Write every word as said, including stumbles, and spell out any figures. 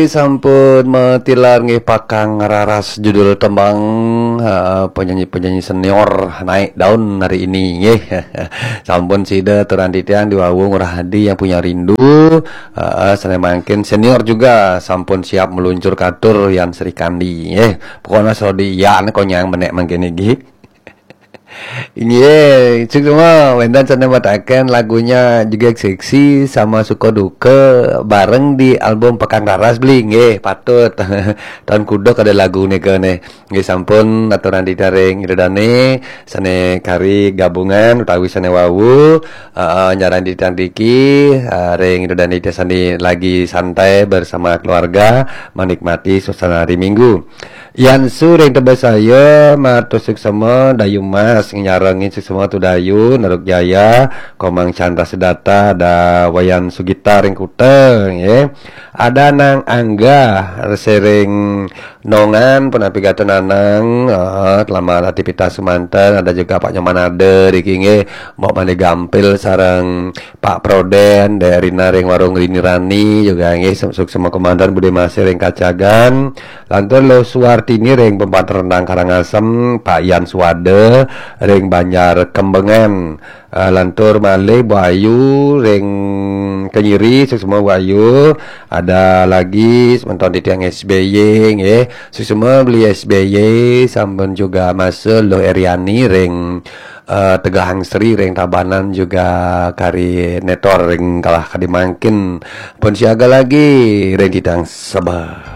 Sampun matilar nggih Pakang Raras judul tembang, eh, penyanyi-penyanyi senior naik daun hari ini nggih. Sampun sida aturan titiang di wau Ngurah Adi yang punya rindu, eh, sané mangkin senior juga sampun siap meluncur katur Yan Sri Kandi nggih. Pokoknya sodi iya né konyang menek mangkin nggih. Inggih, suksma wénten sané mataken lagunya juga seksi sama suka duka bareng di album Pakang Raras beli nggih, patut. Tahun kuda kada lagu nika nih. Nggih sampun aturan titiang ring Ida Dané sané kari gabungan utawi sané wau, eh, nyaran titiang driki, eh, ring Ida Dané sané lagi santai bersama keluarga menikmati suasana hari Minggu. Yan Su ring Tebet Saya, matur suksma, Dayu Mas nyarengin suksma Tu Dayu, Naruk Jaya, Komang Chandra Sedata, ada Wayan Sugita ring Kuta, nggih. Ada Nang Angga, rese ring Nongan, punapi gatra Nanang, eh, selamat aktivitas semanten, ada juga Pak Nyoman Ada, riki nggih, Mbok Mani Gampil, sareng Pak Proden, Dek Rina ring Warung Rini Rani, juga nggih, suksma komandan Bude Masih ring Kacagan, Lantur Luh Suwartini ring Pempatan Rendang Karangasem, Pak Yan Suwada ring Banjar Kembengan. Eh, lantur malih Bu Ayu ring Kenyiri, suksma Bu Ayu. Ada lagi semeton titiang S B Y nggih. Suksma beli S B Y sampun juga masa Luh Eriani ring, eh, Tegahang Sri ring Tabanan juga kari netor ring kalah kadi mangkin. Pun siaga lagi ring titiang sebar.